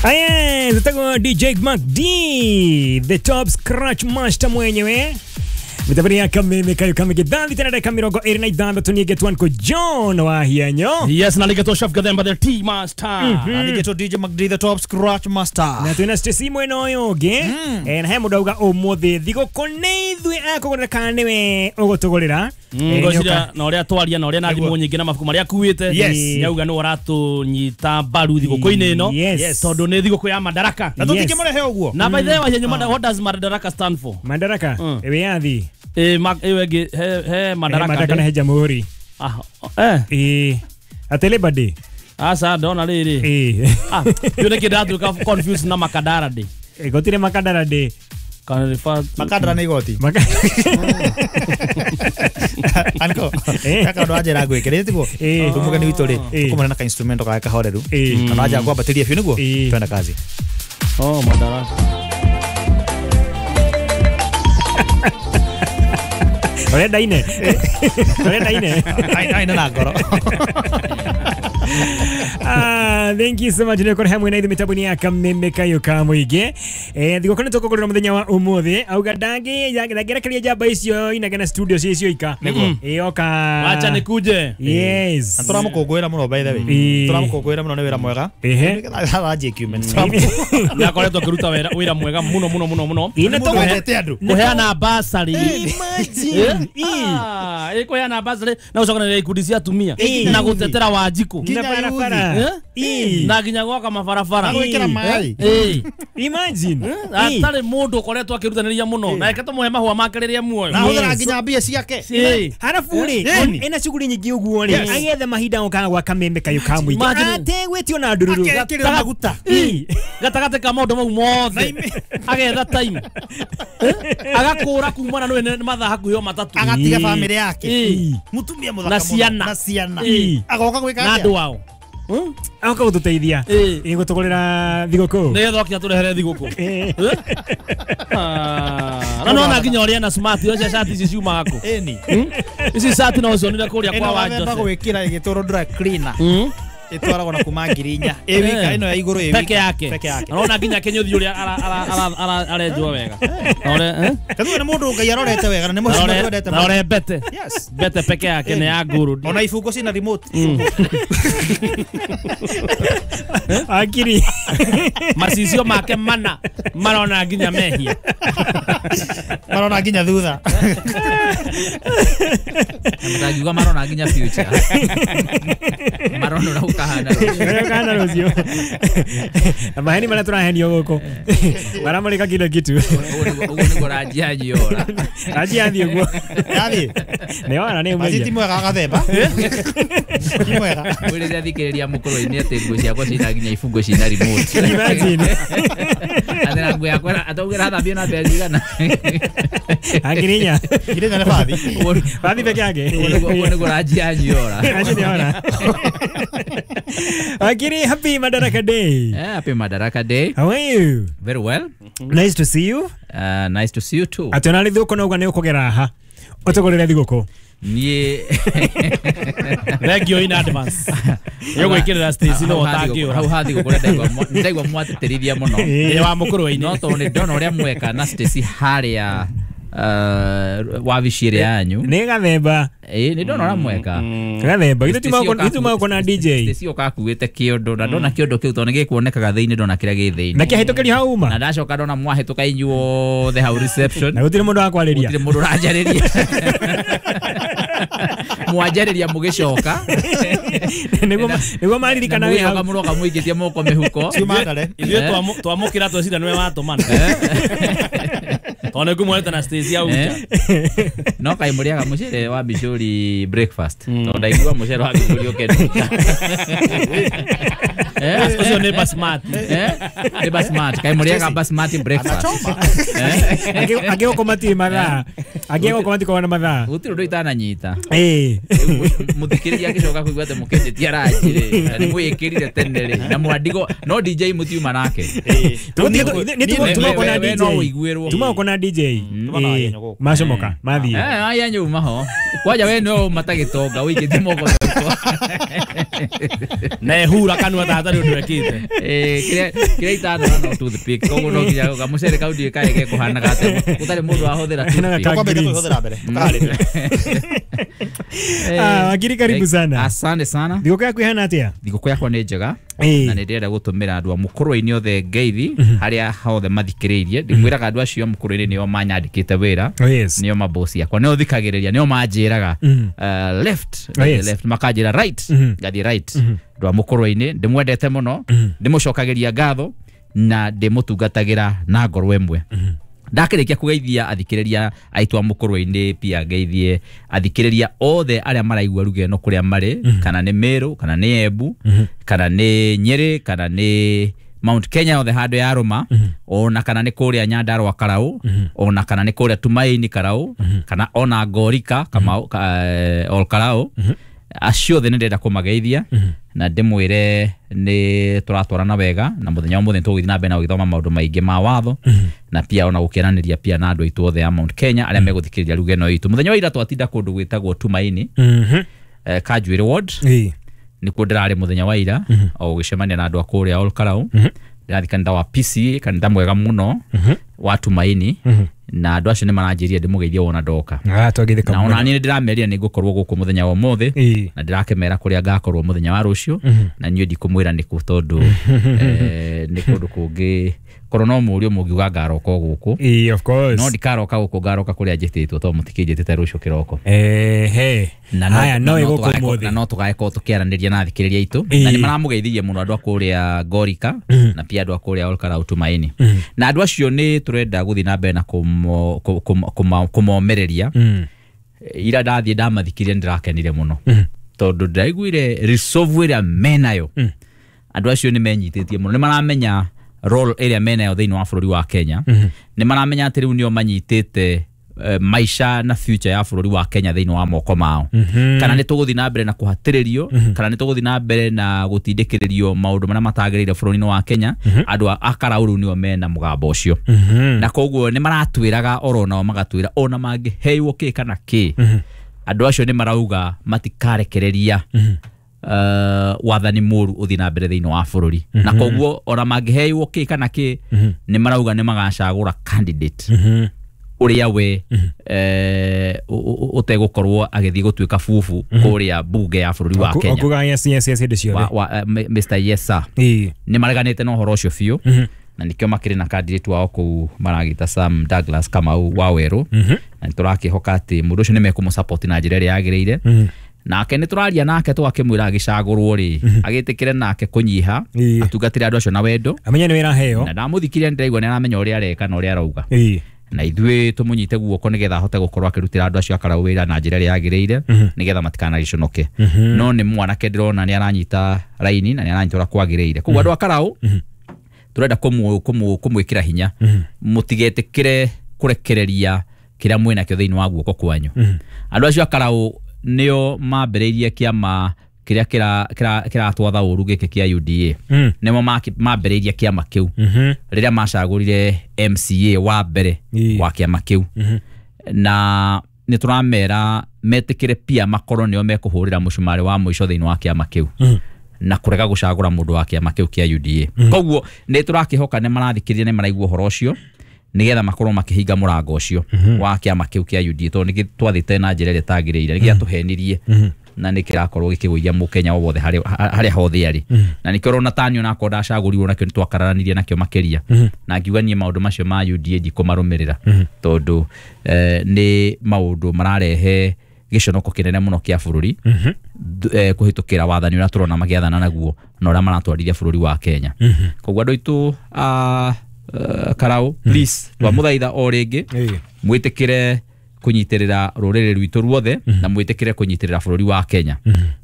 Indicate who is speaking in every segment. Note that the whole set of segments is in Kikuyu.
Speaker 1: Aye, tutakuwa DJ Mac D, the top scratch master mwenyewe. Mitabari ya kameme kayo kame gidhambi tena dakika 26 nigetwa nko John Wahianyo.
Speaker 2: Yes, na ligeto Chef Gathemba the Tea Master.
Speaker 3: Na ligeto DJ Mac D the top scratch master.
Speaker 1: Na twina Stacy mwena oyoge. Na he mudauga umuthi thigũkũ nĩ ithuĩ akũgũrĩra kana nĩwe ũgũtũgũrĩra.
Speaker 2: Ngocira na ũrĩa twaria na ũrĩa na thimũ nyingĩ na mabuku marĩa akuĩte. Nĩauga nĩ ũratũnyita mbaru thigũkũ-inĩ ĩno. Tondũ nĩ thigũkũ ya Madaraka.
Speaker 3: Na tũtingĩmũrehe ũguo.
Speaker 2: Na by the way Wahianyo, what does Madaraka stand for?
Speaker 1: Madaraka wĩyathi.
Speaker 2: He Madaraka.
Speaker 1: Madaraka na he Jamhuri. Ate Labor Day.
Speaker 2: Asa ndona rĩrĩ. Yone kĩndatuĩka confused na Makadara Day.
Speaker 1: Gũtirĩ Makadara Day.
Speaker 3: Makadara nĩ igoti. Anko, kaka ndo anjera gwĩkĩrĩte tiguo. Mũgeni witũ rĩ, tũkũmũne na ka instrument ka kahoreru. Kana anja kwambatĩria biũ nĩguo twenda kazi.
Speaker 2: Oh, Madaraka.
Speaker 1: Urenda ine. Urenda ine.
Speaker 3: Aina na ngoro.
Speaker 1: Thank you so much. Nĩ kũrehe mwena ithu mĩtambo-inĩ ya kameme kayo ka mũingĩ. Thigũkũ nĩ tũkũgũrĩra mũthenya wa ũmũthĩ. Auga ndangĩrekeria njamba icio inagena studio cicio ika. Oka.
Speaker 2: Wacha nikuje.
Speaker 1: Yes.
Speaker 3: Na tũramũkũngũĩra mũno by the way. Tũramũkũngũĩra mũno nĩ wĩra mwega.
Speaker 2: Nĩ akoretwo akĩruta wĩra mwega mũno mũno mũno mũno. Kũheana bursary.
Speaker 1: Imagine.
Speaker 2: Kũheana bursary na gũcokanĩrĩria ikundi cia atumia na gũtetera Wanjikũ.
Speaker 1: Na barabara.
Speaker 2: Na nginya gwaka mabarabara.
Speaker 3: Na gwĩkĩra maĩ.
Speaker 1: Imagine.
Speaker 2: Atarĩ mũndũ ũkoretwo akĩrutanĩria mũno na reke tũmũhe mahũa make rĩrĩa muoyo.
Speaker 3: Na ahũthĩra nginya mbia ciake.
Speaker 1: Harabu rĩ, ena shughuli nyingĩ ũguo rĩ, agethe mahinda okaga gwa kameme kayo ka mũingĩ. Ategwĩtio na ndururu.
Speaker 3: Akekĩrĩra maguta.
Speaker 2: Gatagatĩ ka maũndũ mau mothe. Agetha time. Agakũra kumana nĩ mathaa hakuhĩ o matatũ.
Speaker 3: Agatiga bamĩrĩ yake. Mũtumia mũthaka mũno.
Speaker 2: Na
Speaker 3: ciana. Agoka gwĩka
Speaker 2: na andũ ao.
Speaker 1: Agoka gũtũteithia. Gũtũgũrĩra thigũkũ.
Speaker 2: Nĩgetha oke atũrehere thigũkũ. Na nona nginya ũrĩa na smart ũcio shati ici ciumaga kũ. Ici shati no ũcionire kũrĩa kwa Wanjose.
Speaker 3: Ĩno gwĩkĩra ĩgĩtwarwo dry cleaner. Ĩtwaragwo na kuma 4,000. Ĩ wika ĩno ya igũrũ ĩ wika.
Speaker 2: Peke yake. Arona nginya kĩnyũthi ũrĩa arenjwo wega.
Speaker 3: Tondũ nĩ mũndũ Ngai arorete wega na nĩ mũndũ wendete.
Speaker 2: Na ũrĩa mbete.
Speaker 3: Yes.
Speaker 2: Mbete peke yake nĩ ya ngũrũ.
Speaker 3: Ona ibungo cina remote.
Speaker 1: Akiri.
Speaker 2: Macicio make mana marona nginya mehia.
Speaker 3: Marona nginya thutha.
Speaker 4: Mtagiuga marona nginya future. Marona ukahana
Speaker 1: rũciũ. Rũciũ. Na maheni marĩa tũrahenio gũkũ. Maramũrĩka kila kitu.
Speaker 4: Ũguo nĩguo Ranji anyiora.
Speaker 1: Ranji athiĩ ũguo.
Speaker 3: Yathiĩ.
Speaker 1: Nĩ wona nĩ
Speaker 3: ũmenya. Ti mwega Gathemba. Ti mwega.
Speaker 4: Mwĩrĩre thikĩrĩria mũkũrũ-inĩ atĩ nguo ciakwa cina nginya ibungo cina remote.
Speaker 1: Imagine.
Speaker 4: Atĩ nguo yakwa ataugĩra thambio na mbeca cigana.
Speaker 1: Angirinya.
Speaker 3: Ngirinya nĩ bathi.
Speaker 1: Bathi peke yake.
Speaker 4: Ũguo nĩguo Ranji anyiora.
Speaker 1: Ranji nĩ ona. Akiri, happy Madaraka Day.
Speaker 4: Yeah, happy Madaraka Day.
Speaker 1: How are you?
Speaker 4: Very well.
Speaker 1: Nice to see you.
Speaker 4: Nice to see you too.
Speaker 1: Atonali thũkũ no uga nĩ ũkũgera haha. Ũtũgũrĩre thigũkũ.
Speaker 4: Niĩ
Speaker 2: thank you in advance. Yogwĩkĩrĩra Stacy no ũtangĩũra.
Speaker 4: Hau ha thigũkũ ndaigua mwatĩtĩrithia mũno.
Speaker 2: Ĩ wa mũkũrũ-inĩ.
Speaker 4: No tondũ nĩ ndona ũrĩa mweka na Stacy harĩa wabici ĩrĩa yanyu.
Speaker 1: Nĩ Gathemba.
Speaker 4: Nĩ ndona ũrĩa mweka.
Speaker 1: Gathemba ithuĩ tiuma na DJ.
Speaker 4: Stacy ũkakuĩte kĩondo na ndona kĩondo kĩu tondũ nĩ gĩkuonekaga thĩinĩ ndona kĩrĩa gĩ thĩinĩ.
Speaker 1: Na kĩahĩtũkĩrio hau uma.
Speaker 4: Na ndacoka ndona mwahĩtũka inyuothe hau reception.
Speaker 1: Na gũtirĩ mũndũ wa kwarĩria.
Speaker 4: Gũtirĩ mũndũ ũranjarĩria. Mwanjarĩria mũgĩcoka.
Speaker 1: Nĩguo maririkana
Speaker 4: wĩ hau. Mũroka mũikĩtie moko mĩhuko.
Speaker 2: Ithuĩ twamũkĩra twecira nĩwe watũmana. Tondũ nĩngũmuonete na Stacy hau nja.
Speaker 4: No kaĩ mũrĩaga mũcere wa Bicũri breakfast. Tondũ ndaigua mũcere wa Bicũri ũkenũka.
Speaker 2: Ũcio nĩ basmati.
Speaker 4: Nĩ basmati. Kaĩ mũrĩaga basmati breakfast.
Speaker 1: Angĩgũkũ matirĩ mathaa. Angĩ gũkũ matikoragwo na mathaa.
Speaker 4: Gũtirĩ ũndũ itananyita. Mũthikĩrĩria agĩcoka kũigua atĩ mũkĩnjĩtia ranji rĩ, na nĩ mwĩkĩrire tene rĩ, na mwandigo no DJ mũtiuma nake.
Speaker 1: Tuma na DJ. Tuma uko na DJ. Macomoka mathiĩ.
Speaker 4: Aya nyuma ho. Kwanja we no matagĩtonga ũikĩtie moko.
Speaker 2: Na ehura kanua ta hatarĩ ũndũ ekĩte.
Speaker 4: Kĩrĩa itanona no toothpick. Koguo no nginya gamucere kau ndiũĩ kaĩ gekũhanaga atĩa. Gũtarĩ mũndũ wahũthĩra toothpick.
Speaker 3: Kwambĩrĩria kũhũthĩra mbere. Tũkaharĩria.
Speaker 1: Wakiri karibu sana.
Speaker 4: Asante sana.
Speaker 1: Thigũkũ yaku ihana atĩa?
Speaker 4: Thigũkũ yakwa nĩ njega. Na nĩ ndĩrenda gũtũmĩra andũ a mũkũrũ-inĩ othe ngeithi harĩa hothe mathikĩrĩirie. Ndĩmwĩraga andũ acio a mũkũrũ-inĩ nĩo manyandĩkĩte wĩra. Nĩo mabosi akwa. Nĩo thikagĩrĩria, nĩo manjĩraga left, left makanjĩra right, ngathiĩ right. Andũ a mũkũrũ-inĩ ndĩmwendete mũno, ndĩmũcokagĩria ngatho na ndĩmũtungatagĩra na ngoro ĩmwe. Ndakĩrĩkia kũgeithia athikĩrĩria aitũ a mũkũrũ-inĩ, pia ngeithie athikĩrĩria othe arĩa maraigua ruga ĩno kũrĩa marĩ, kana nĩ Meru, kana nĩ Embu, kana nĩ Nyĩrĩ, kana nĩ Mount Kenya othe handũ ya Rũma, ona kana nĩ kũrĩa Nyandarua Karau, ona kana nĩ kũrĩa Tumaini Karau, kana ona Ngorika Kamau Ol Karau. Acio othe nĩ ndĩrenda kũmageithia na ndĩmwĩre nĩ tũratwarana wega, na mũthenya wa mũthenya tũgũthiĩ na mbere na gũgĩthoma maũndũ maingĩ ma watho, na pia ona gũkĩaranĩria pia na andũ aitũ othe a Mount Kenya arĩa megũthikĩrĩria ruga ĩno itũ. Mũthenya wa ira twatinda kũndũ gwĩtagwo Tumaini, Kanjuĩrĩ Ward, nĩkuo ndĩrarĩ mũthenya wa ira o gũgĩcemania na andũ a kũrĩa Ol Kalou. Ndĩrathiĩ kanitha wa PCA, kanitha mwega mũno wa Tumaini, na andũ acio nĩ maranjĩrire ndĩmũgeithie wona ndoka. Na ona niĩ nĩndĩramerire nĩ ngũkorwo gũkũ mũthenya wa ũmũthĩ, na ndĩrakĩmera kũrĩa ngakorwo mũthenya wa rũciũ, na niĩ ndikũmwĩra nĩkũ tondũ nĩ kũndũ kũngĩ korwo no mũũrio mũngiuga ngaroka gũkũ.
Speaker 1: Of course.
Speaker 4: No ndikaroka gũkũ, ngaroka kũrĩa njĩtĩtwo tondũ mũtikĩnjĩtĩte rũciũ kĩroko.
Speaker 1: Haya, no ĩgũkũ ũmũthĩ.
Speaker 4: Na no tũgagĩkorwo tũkĩaranĩria na athikĩrĩria aitũ, na nĩ maramũgeithirie mũno andũ a kũrĩa Ngorika, na pia andũ a kũrĩa Ol Kalou Tumaini. Na andũ acio nĩ tũrenda gũthiĩ na mbere na kũmomereria. Ira ndathiĩ ndamathikĩrĩria nĩ ndĩrakenire mũno tondũ ndĩraiguire resolve ĩrĩa menayo. Andũ acio nĩ menyitĩtie mũno, nĩ maramenya role ĩrĩa menayo thĩinĩ wa bũrũri wa Kenya. Nĩ maramenya atĩ rĩu nĩo manyitĩte maisha na future ya bũrũri wa Kenya thĩinĩ wa moko mao. Kana nĩ tũgũthiĩ na mbere na kũhatĩrĩrio, kana nĩ tũgũthiĩ na mbere na gũtindĩkĩrĩrio maũndũ marĩa matagĩrĩire bũrũri-inĩ wa Kenya. Andũ a Karau rĩu nĩo mena mũgambo ũcio, na koguo nĩ maratwĩraga oro nao magatwĩra ona mangĩheirwo kĩ kana kĩ, andũ acio nĩ marauga matikarekereria wathani mũru ũthiĩ na mbere thĩinĩ wa bũrũri. Na koguo ona mangĩheirwo kĩ kana kĩ, nĩ marauga nĩ magacagũra candidate ũrĩa we ũtegũkorwo agĩthiĩ gũtuĩka bubu kũrĩa bunge ya bũrũri wa Kenya.
Speaker 1: Okuga yes yes yes hĩndĩ ciothe.
Speaker 4: Mr Yes sir. Nĩ mareganĩte na ũhoro ũcio biũ, na nĩkĩo makĩrĩ na candidate wao kũu maragĩta Sam Douglas Kamau wa Werũ, na nĩ tũrakĩhoka atĩ mũndũ ũcio nĩ mekũmũsupport na njĩra ĩrĩa yagĩrĩire. Nake nĩ tũraria nake tũgakĩmwĩra agĩcagũrwo rĩ, agĩtĩkĩre nake kũnyiha, atungatĩre andũ acio na wendo,
Speaker 1: amenye nĩ wĩra aheo.
Speaker 4: Na ndamũthikĩria nĩndĩraigua nĩ aramenya ũrĩa areka na ũrĩa arauga. Na ithuĩ tũmũnyite guoko nĩgetha ahote gũkorwo akĩrutĩra andũ acio a Karau wĩra na njĩra ĩrĩa yagĩrĩire, nĩgetha matikanagĩconoke. No nĩ mwanake ndĩrona nĩ aranyita raini na nĩ aranyita ũrĩa kwagĩrĩire. Koguo andũ a Karau tũrenda kũmwĩkĩra hinya, mũtigetĩkĩre kũrekereria kĩrĩa mwĩnakĩo thĩinĩ wa guoko kwanyu. Andũ acio a Karau nĩo mambĩrĩirie kĩama kĩrĩa kĩratwatha ũru gĩkĩ kĩa UDA. Nĩmo mambĩrĩirie kĩama kĩu rĩrĩa macagũrire MCA wa mbere wa kĩama kĩu. Na nĩ tũramera metĩkĩre pia makorwo nĩo mekũhũrĩra mũcumarĩ wa mũico thĩinĩ wa kĩama kĩu, na kũrega gũcagũra mũndũ wa kĩama kĩu kĩa UDA. Koguo nĩ tũrakĩhoka nĩ marathikĩrĩria, nĩ maraigua ũhoro ũcio, nĩgetha makorwo makĩhinga mũrango ũcio wa kĩama kĩu kĩa UDA, tondũ nĩ twathĩte na njĩra ĩrĩa ĩtagĩrĩire, nĩ gĩatũhenirie na nĩ kĩrakorwo gĩkĩgũithia mũkenya o wothe harĩa hothe arĩ. Na nĩkĩo ũrona tani onakorwo ndacagũrirwo nakĩo nĩ twakararanirie nakĩo makĩria, na ngiuga niĩ maũndũ macio ma UDA ndikũmarũmĩrĩra, tondũ nĩ maũndũ mararehe gĩconoko kĩnene mũno kĩa bũrũri kũhĩtũkĩra wathani ũrĩa tũrona magĩathana naguo na ũrĩa maratwarithia bũrũri wa Kenya. Koguo andũ aitũ a Karau, please, twamũthaitha o rĩngĩ mwĩtĩkĩre kũnyitĩrĩra rũrĩrĩ rwitũ ruothe, na mwĩtĩkĩre kũnyitĩrĩra bũrũri wa Kenya,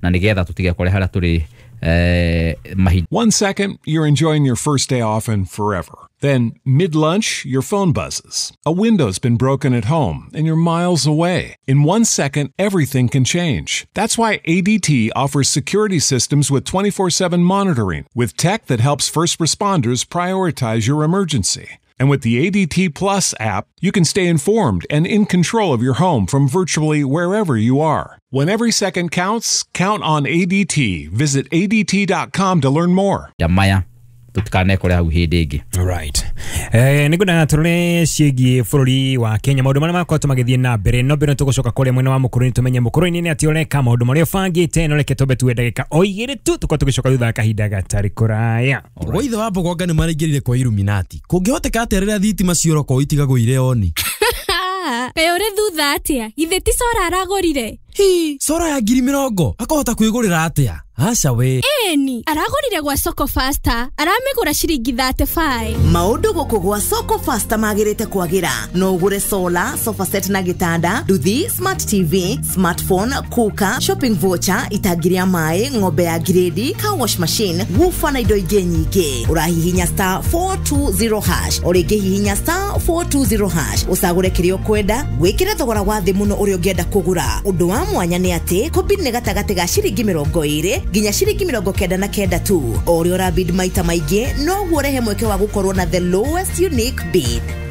Speaker 4: na nĩgetha tũtigekore harĩa tũrĩ Mahinda.
Speaker 5: 1 second, you're enjoying your first day off and forever. Then, mid-lunch, your phone buzzes. A window's been broken at home, and you're miles away. In 1 second, everything can change. That's why ADT offers security systems with 24/7 monitoring, with tech that helps first responders prioritize your emergency. And with the ADT Plus app, you can stay informed and in control of your home from virtually wherever you are. When every second counts, count on ADT. Visit ADT.com to learn more.
Speaker 4: Maya tutikanekore hau hĩndĩ ĩngĩ.
Speaker 1: Right. Nĩngwenda tũrore ciĩgiĩ bũrũri wa Kenya maũndũ marĩa makoretwo magĩthiĩ na mbere, no mbere tũgũcoka kũrĩa mwena wa Mũkũrũinĩ tũmenye Mũkũrũinĩ nĩ atĩ ũreka maũndũ marĩa ũbangĩte, no reke twambe tuwe ndagĩka o igĩrĩ tu tũkorwo tũgĩcoka thutha wa kahinda gatarĩ kũraya.
Speaker 6: Gwa ithe wa Mbogonga nĩ maraingĩrire kwa Illuminati. Kũngĩhoteka atĩa rĩrĩa thitima ciora itigagwo irĩ oni?
Speaker 7: Kaĩ ũrĩ thutha atĩa? Githĩ ti cora aragũrire?
Speaker 6: Hi, cora ya 20,000 akahota kwĩgũrĩra atĩa? Aca we.
Speaker 7: Ĩni, aragũrire gwa Soko Faster, aramĩgũra ciringi 35.
Speaker 8: Maũndũ gũkũ gwa Soko Faster magĩrĩte kwagĩra. No ũgũre solar, sofa set na gĩtanda, nduthi, smart TV, smartphone, cooker, shopping voucher, itangi rĩa maĩ, ng'ombe ya grade, car wash machine, woofer na indo ingĩ nyingĩ. Ũrahihinya star 420 hash, o rĩngĩ hihinya star 420 hash, ũcagũre kĩrĩa ũkwenda, wĩkĩre thogora wa thĩ mũno ũrĩa ũngĩenda kũgũra. Ũndũ wa mwanya nĩ atĩ kũbid nĩ gatagatĩ ga ciringi 20 nginya ciringi 99 tu. O ũrĩa ũrabid maita maingĩ noguo ũrehe mweke wa gũkorwo na the lowest unique bid.